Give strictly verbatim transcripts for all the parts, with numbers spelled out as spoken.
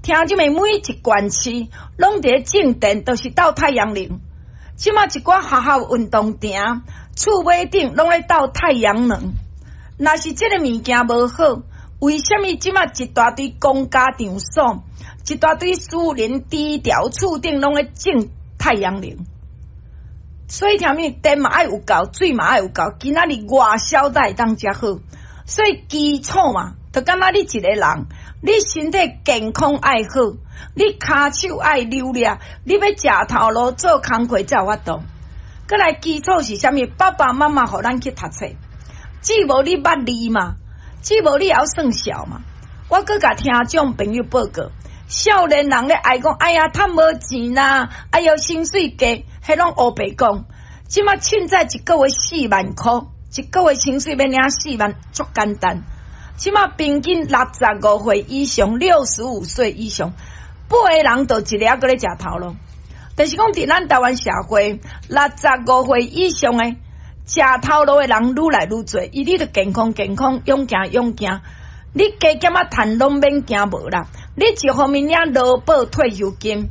聽眾們每一縣市攏佇咧種電，都是鬥太陽能。這馬一寡學校運動場、厝尾頂攏咧鬥太陽能。若是這个物件無好，為啥物這馬一大堆公家場所、一大堆私人低調厝頂攏咧種太陽能？所以聽物電嘛愛有夠，水嘛愛有夠，今仔日外銷才會當遮好。所以基礎嘛，就敢若你一个人，你身體健康愛好，你跤手愛流利，你欲食頭路做工課才有法度。閣來基礎是啥物？爸爸媽媽予咱去讀冊，只無你捌字嘛，只無你會曉算數嘛。我閣共聽眾朋友報告，少年人咧愛講，哎呀，趁無錢啦，哎喲，薪水低，彼攏烏白講。這馬凊彩一个月四萬箍，一个月薪水欲領四萬，足簡單。這馬平均六十五歲以上，六十五歲以上，八个人就一个猶閣咧食頭路。就是講，佇咱台灣社會，六十五歲以上的食頭路的人愈來愈濟。伊你著健康健康，勇健勇健，你加減仔趁攏免驚無啦。你一方面領勞保退休金，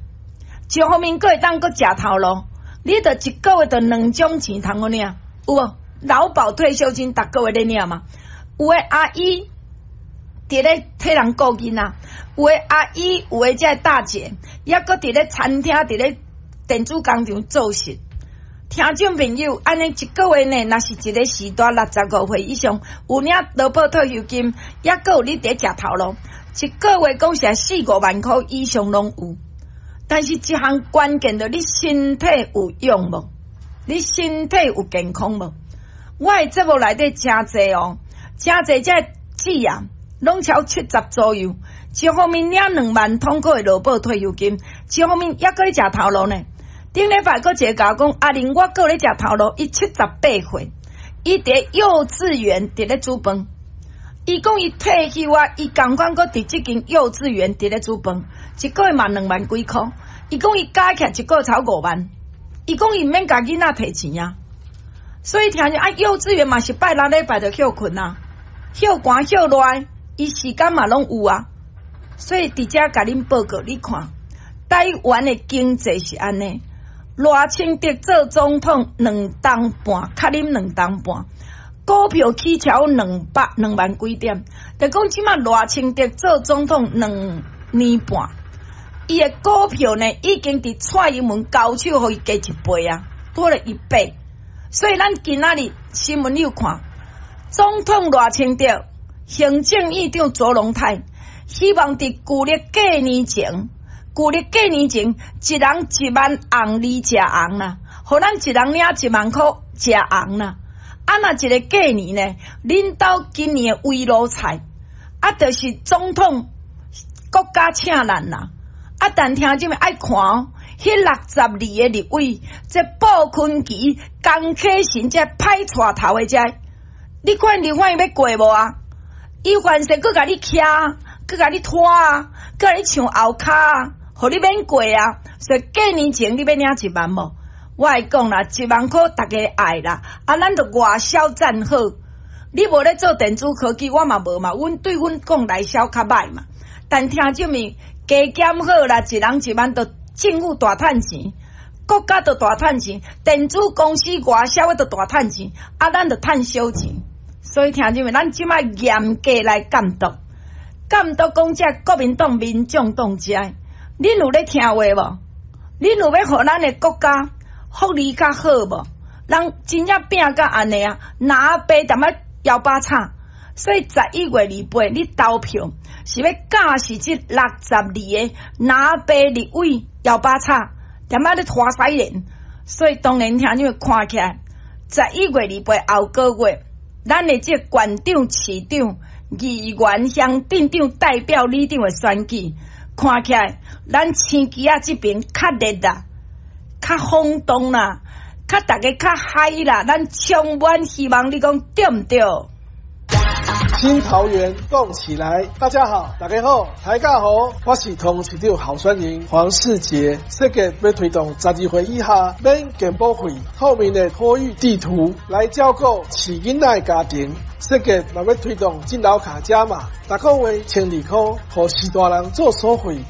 一方面閣會當閣食頭路。你著一个月著兩種錢通好領，有無？勞保退休金逐个月咧領嘛？有的阿姨佇咧替人顧囡仔，有的阿姨，有的這个大姐，抑閣佇咧餐廳，佇咧電子工廠做事。聽眾朋友，按呢一个月呢，若是一个時代六十五歲以上，有領勞保退休金，抑閣有你佇食頭路，一个月講實在四五萬箍以上攏有。但是一項關鍵著你身體有用無？你身體有健康無？我的節目內底誠濟哦，誠濟這姊啊，攏超七十左右，一方面領兩萬通塊的勞保退休金，一方面抑閣咧食頭路呢。頂禮拜閣一個共我講，阿玲，我閣咧食頭路，伊七十八歲，伊佇幼稚園佇咧煮飯。伊講伊退休啊，伊仝款閣佇這間幼稚園佇咧煮飯，一個月嘛兩萬幾箍。伊講伊加起來一個月才五萬。伊講伊毋免共囡仔提錢啊。所以聽著啊，幼稚園嘛是拜六禮拜就歇睏啊，歇寒歇熱，伊時間嘛攏有啊。所以佇遮共恁報告，你看台灣的經濟是按呢，賴清德做總統兩冬半，較啉兩冬半。股票起超兩百兩萬幾點，就講這馬賴清德做總統兩年半，伊的股票呢已經佇蔡英文交手，予伊加一倍啊，多了一倍。所以咱今仔日新聞你有看，總統賴清德、行政院長卓榮泰，希望佇舊曆過年前，舊曆過年前，一人一萬紅利食紅啦，予咱一人領一萬箍食紅啦。啊！若一个過年呢，恁兜今年的圍爐菜，啊，就是總統國家請咱啦。啊，但聽眾們愛看哦，彼六十二个立委，這布坤奇、江啟臣這歹帶頭的這，你看立法院欲過無啊？伊凡勢閣共你徛，閣共你拖啊，閣共你唱後跤啊，予你免過啊。所以過年前你欲領一萬無？我會講啦，一萬箍逐家愛啦，啊，咱著外銷讚好。你無咧做電子科技，我嘛無嘛。阮對阮講內銷較歹嘛。但聽眾們加減好啦，一人一萬，著政府大趁錢，國家著大趁錢，電子公司外銷的著大趁錢，啊，咱著趁小錢。所以聽眾們，咱這馬嚴格來監督，監督講這國民黨、民眾黨這，恁有咧聽話無？恁有欲予咱的國家福利較好無？人真正拼甲按呢啊，藍白踮仔搖把叉。所以十一月二八，你投票是欲監視這六十二個藍白立委搖把叉，踮仔咧拖屎輪。所以當然聽你們看起來，十一月二八後個月，咱的這縣長、市長、議員、鄉鎮長代表里長的選舉，看起來咱青旗仔這邊較熱啦，較轟動啦，較逐家較嗨啦，咱充滿希望，你講對毋對？新桃園動起來！大家好，大家好，大家好，我是桃園市長候選人黃世傑，設計欲推動十二歲以下免健保費、透明的托育地圖來照顧飼囡仔的家庭。設計嘛欲推動敬老卡加碼，逐個月千二箍，予序大人做所費。